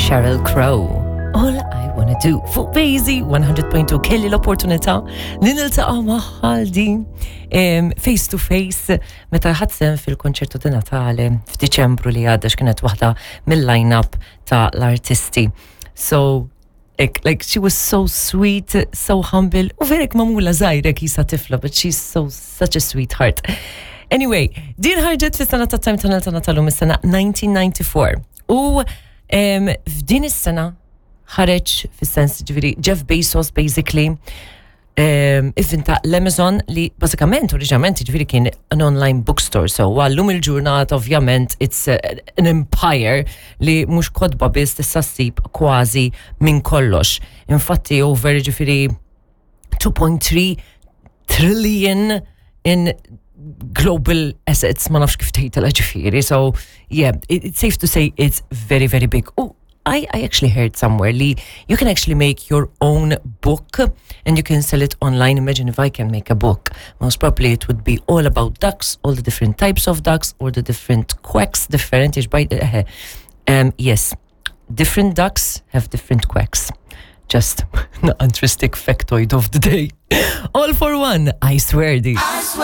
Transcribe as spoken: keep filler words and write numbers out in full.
Sheryl Crow. All I Wanna Do fuq Basie one hundred point two. Kelli l-opportunità li niltaqa' magħha din em, face to face meta ħadt sehem fil-konċertu di Natale f'Diċembru li għadda, x'kienet waħda mill-line-up ta' l-artisti. So like, like she was so sweet, so humble, u vera magħmula żgħira qisha tifla, but she's so such a sweetheart. Anyway, din ħarġet fis-sena ta' Time Tunnel ta' Natalum, is-sena elf disa' mija u disgħa u disgħin. U em, f'din is-sena ħareġ, fis-sens ġifieri Jeff Bezos basically um, ivvinta l-Amazon, li basikament oriġinament ġifieri kien an online bookstore, so għallum il-ġurnata ovvjament it's uh, an empire li mhux kotba biss, tista' ssib kważi minn kollox. Infatti over ġifieri two point three trillion in global assets, ma nafx kif tgħidha ġifieri, so yeah, it, it's safe to say it's very, very big. Oh, I, I actually heard somewhere li you can actually make your own book and you can sell it online. Imagine if I can make a book. Most probably it would be all about ducks, all the different types of ducks, all the different quacks, different. Uh, um, yes, different ducks have different quacks. Just an interesting factoid of the day. All for One, I Swear di. I swear.